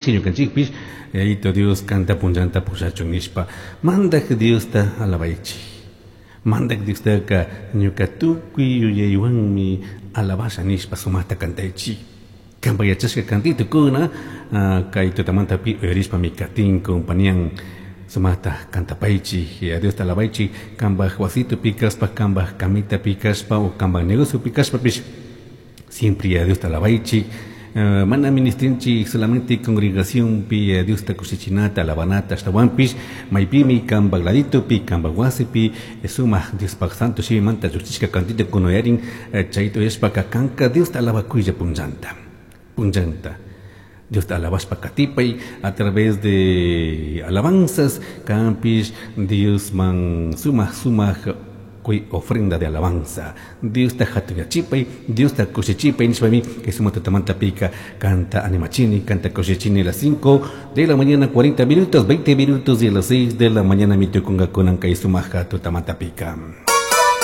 Ñukanchikpish Yayito Dios kanta punllanta pushachun nishpa Mandak Diosta alabaichik. Mandak Diostaca ñuka tukuy yuyaywanmi alabasha nishpa sumaqta cantaychik. Kanpa yachashka kantitukuna kay tutamantapi uyarishpami katin compañían sumaqta cantapaychik, Diosta alabaichik, kanpaj wasitupi kashpa, kanpaj camitapi kashpa o kanpaj negociopi kashpapish siempre a Diosta alabaichik. Mana ministrinchik solamente congregacionpi Diosta kushichinata alabanata, ashtawanpish maypimi kanpaj laditopi, kanpaj wasipi sumaq Diospaj santo shimimanta lluqchishka kantitukuna uyarin, chayta uyashpaka kanka Diosta alabakuylla punllanta, punllanta. Diosta alabashpa katipay a través de alabanzas, kanpish Diosman sumaq sumaq kuy ofrenda de alabanza. Diosta hatunyachipay, Diosta kushichipay nishpami kay sumaq tutamantapika kanta animachini, kanta kushichini a las 5 de la mañana 40 minutos, 20 minutos y a las 6 de la mañana mitukunga kunan kay sumaq tutamantapika.